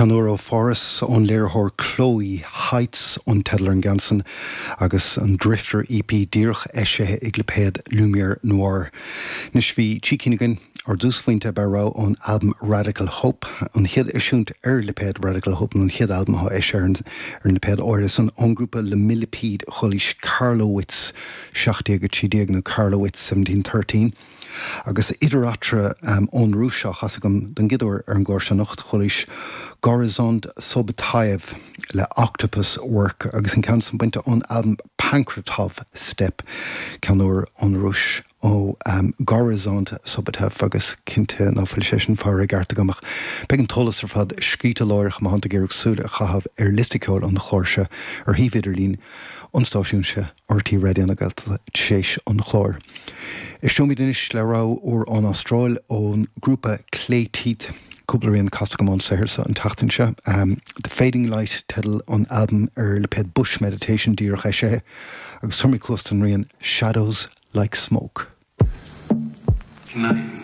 Ceann úr ó Pháras ón léiritheoir Chloé Heights an teideal ar an gceann san agus an Drifter EP díreach eisithe ag lipéad Lumière Noire. Anois bhí trí cinn againn. Ár dtúsphointe ab ea rogha ón albam Radical Hope, an chéad eisiúint ar lipéad Radical Hope nó an chéad albam atá eisithe ar an lipéad áirithe san ón ngrúpa Le Millipede chualaís Karlowitz 1713 nó Karlowitz 1713. Agus idir eatarthu ón Rúis á chasadh agam don gcéad uair ar an gclár seo anocht, chualaís Gorizont Sobotaiyev le Octopus Work agus an ceann san bainte ón albam Pankratov Step, ceann úr ón Rúis ó Gorizont Sobotaiyev agus cinnte ná fuil sé sin faighte i gceart agam ach beidh an t-eolas ar fad scríte láithreach má thánn tú ag iarraidh súil a chaitheamh ar liosta ceoil an chláir seo ar shuíomh idirlín an stáisiúin seo. RTÉ Raidió na Gaeltachta tar éis an chláir. Éisteoimid anois le rogha úr ón Astráil ón grúpa Clay Teeth. Cúpla rian casta agam ón saothar seo an tseachtain seo. The Fading Light teideal an albaim ar lipéad Bush Meditation díreach eisithe agus tabharfaimid cluas don rian Shadows Like Smoke. Tonight.